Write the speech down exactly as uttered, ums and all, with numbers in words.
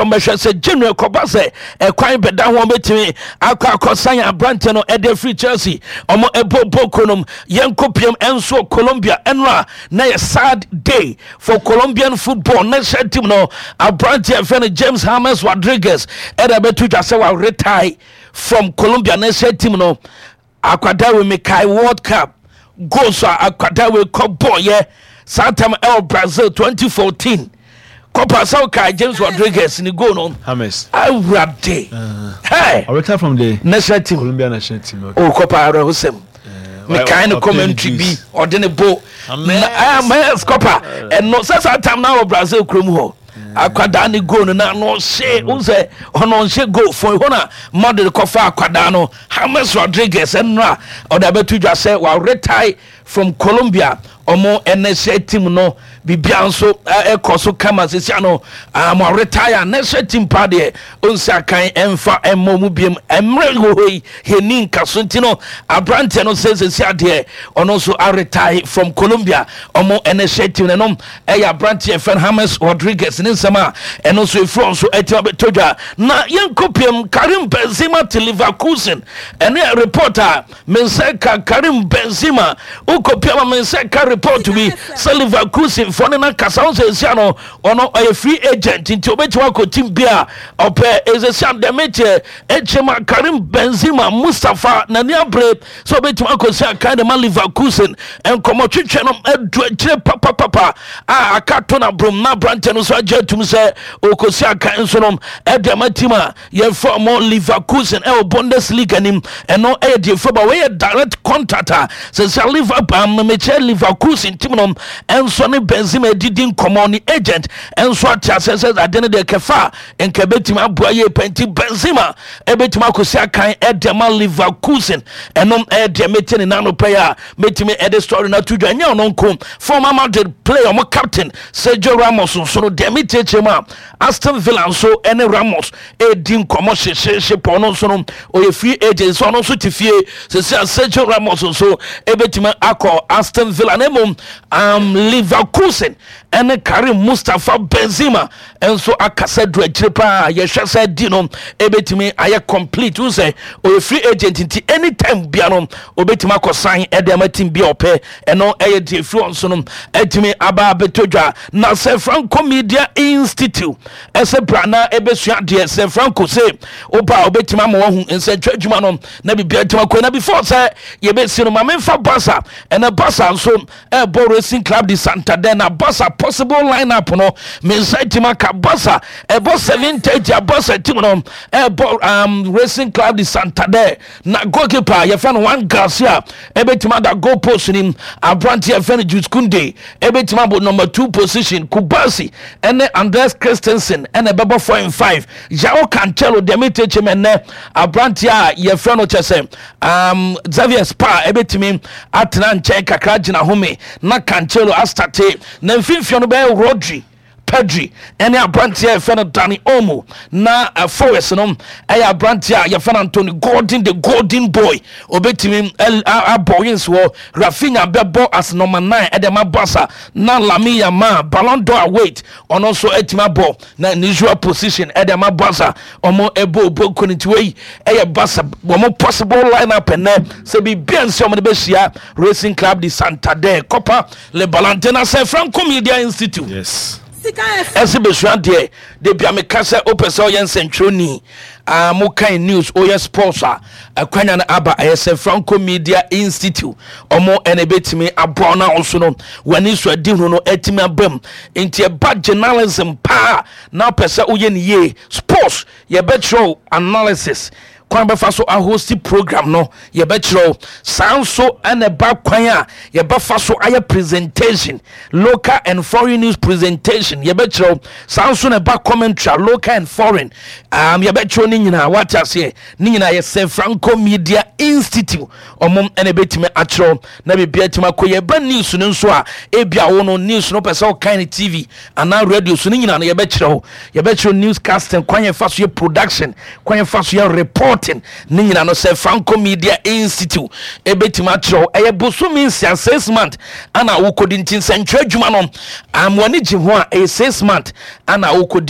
Ɔmbɛhwɛ sɛ January kɔba sɛ ɛkwan bɛda ho, ɔbɛtumi akɔ akɔsan aberante no ɛde afiri Chelsea. Ɔmo ɛbɔ boko nom. Yɛnkɔ piem ɛnso Colombia. Ɛno a na yɛ sad day for Colombian football national team no. Aberante ɛfɛ no James James Rodriguez ɛde abɛto dwa sɛ wa retire from Colombia national team no. Akwadaa wei, mekae World Cup goals a akwadaa wei kɔ bɔɔyɛ saa tam ɛwɔ Brazil twenty fourteen. Kɔpa sɛ wokae James Rodriguez ne goal no. James. Awurade, hey. I retire from the national team. Colombia national team. Okay. O kɔpa, awerɛhosɛm. Mekae ne commentary bi ɔde ne bo James kɔpa ɛno sɛ saa tam na wɔ Brazil kurom hɔ, akwadaa ne goal no na no ɔhyɛ wo sɛ ɔno ɔnhyɛ goal fo hɔ na Madrid kɔfa akwadaa no James Rodriguez. Ɛno a ɔde abɛto dwa sɛ wa retire from Colombia ɔmo national team no. Bibia nso ɛkɔ so kama sisia no. Mo retire national team pa deɛ, ɔnsi akan ɛmfa ɛmmɔ mu biem. Mmerɛ wɔ hɔ yi yɛni nka so nti no, aberanteɛ no sɛ sisia deɛ ɔno nso aretire from Colombia ɔmo national team no. Ɛnom ɛyɛ aberanteɛ fɛn James Rodriguez ne nsɛm a ɛno nso efiri nso ɛtumi abɛtɔ dwa. Na yɛnkɔ piem Karim Benzema te Leverkusen. Ɛno yɛ report a me nsa ka. Karim Benzema wokɔ piem a, me nsa ka report bi sɛ Leverkusen foɔ ne na kasa wo sɛ ɛsia no ɔno ɔyɛ free agent, nti obɛtumi akɔ team bi a ɔpɛ. Ɛsɛsia dɛm kyɛ ɛkyɛm Karim Benzema Mustapha n'ani abere sɛ obɛtumi akɔsi akan de ma Leverkusen. Nkɔmmɔ twetwe no adu akyire papapapa a aka to na brom na aberantɛ no nso agye atum sɛ ɔkɔsi akan nso no ɛde ama team a yɛfrɛ ɔmo Leverkusen ɛwɔ Bundesliga nim. Ɛno ɛyɛ deɛ fɛ ba wɔyɛ direct contact a sɛ sɛ Liverpool mekyɛ Leverkusen team no ɛnso ne Benzema adidi nkɔmmɔ ne agent ɛnso ate asɛ sɛ ade no deɛ kɛfa a nka ɛbɛtumi aboa yie pɛ, nti Benzema ɛbɛtumi akɔsi akan ɛde ama Leverkusen. Ɛno ɛyɛ deɛ mete ne nano pɛ a mɛtumi ɛde story no ato dwa. Ɛnyɛ ɔno nko, former Madrid player, ɔmo captain Sergio Ramos nso no, deɛ metie mu a, Aston Villa nso ɛne Ramos ɛdi nkɔmmɔ hyehyehye pɔ. Ɔno nso no ɔyɛ free agent, so ɔno nso te fie sɛsɛ a Sergio Ramos nso ɛbɛtumi akɔ Aston Villa. Na mmom um, Leverkusen ɛne Karim Mustapha Benzema nso akasa du akyire paa. Yɛhwɛ sɛ di no ɛbɛtumi ayɛ complete wo sɛ ɔyɛ free agent, nti anytime bia no ɔbɛtumi akɔ sign ɛde ama team bi a ɔpɛ. Ɛno ɛyɛ deɛ firi wɔn so no ɛtumi aba abɛtɔ dwa. Na sɛ Franco Media Institute ɛsɛ bra na ɛbɛsua deɛ sɛ Franco sɛ woba a, wobɛtumi ama wahu nsɛntwerɛ adwuma no na biribia tumi akɔ. Na before sɛ yɛbɛsi no, ma memfa Barca. Ɛnɛ Barca nso ɛbɔ Racing Club de Santander. Na Barca possible lineup no, me nsa tumi aka. Barca ɛbɔ seven thirty a Barca team no ɛbɔ um, Racing Club de Santander. Na goalkeeper yɛfrɛ no Joan Garcia ɛbɛtumi ada goal post nim. Aberante yɛfrɛ no Jules Kounde ɛbɛtumi abɔ number two position. Cubarsi ɛne Andreas Christensen ɛna ɛbɛbɔ four and five. Joao Cancelo deɛ metekyɛ mu ɛnɛ, aberante a yɛfrɛ no kyɛ sɛ um, Xavier Spa ɛbɛtumi atena nkyɛn kakra gyina home na Cancelo astart. Na mfimfini no bɛyɛ Rodri, Pedri ɛne aberanteɛ a yɛfrɛ no Dani Olmo. Na uh, forwards no ɛyɛ aberanteɛ a yɛfrɛ no Anthony Gordon, the golden boy, obɛtumi abɔ wings wɔ. Raphinha bɛbɔ as number nine ɛde ma Barca. Na Lamine Yamal, Ballon d'Or await, ɔno nso atumi abɔ na ne usual position ɛde ma Barca. Ɔmo ɛbɔ obo nkoniti. Wei ɛyɛ Barca wɔn possible line up ɛnɛ sɛ biribi nsi ɔmo de bɛhyia Racing Club de Santander. Copa Le Balante na sɛ Franco Media Institute Yes. ɛsɛ bɛsua deɛ de bia meka sɛ wopɛ sɛ ɔyɛ nsɛntwerɛni uh, mokan news, woyɛ sports a, akwanya no aba. Ɛyɛ sɛ Franco Media Institute ɔmo ɛna ɛbɛtumi aboa no a ɔso no w'ani so adi hu no atumi aba mu. Nti ɛba journalism paa na wopɛ sɛ woyɛ ne yie, sports yɛbɛkyerɛw, analysis kwan bɛfa so ahost program no yɛbɛkyerɛw saa nso, ɛna ɛba kwan a yɛbɛfa so ayɛ presentation, local and foreign news presentation, yɛbɛkyerɛw saa nso, na ɛba commentary, local and foreign, um, yɛbɛkyerɛw ne nyinaa. Wate aseɛ? Ne nyinaa yɛ sɛ Franco Media Institute ɔmo ɛna ɛbɛtumi akyerɛw na biribia tumi akɔ. Yɛba news no nso a, ebia wo no news no pɛ sɛ wokan ne T V anaa radio so no, nyinaa no yɛbɛkyerɛw. Yɛbɛkyerɛw news casting, kwan yɛfa so yɛ production, kwan yɛfa so yɛ reporting, ne nyinaa no sɛ Franco Media Institute ɛbɛtumi akyerɛw. Ɛyɛ bosome nsia, six month ana wokɔdi. Nti nsɛntwerɛ adwuma no amoani gye ho a, ɛyɛ six month ana wokɔdi.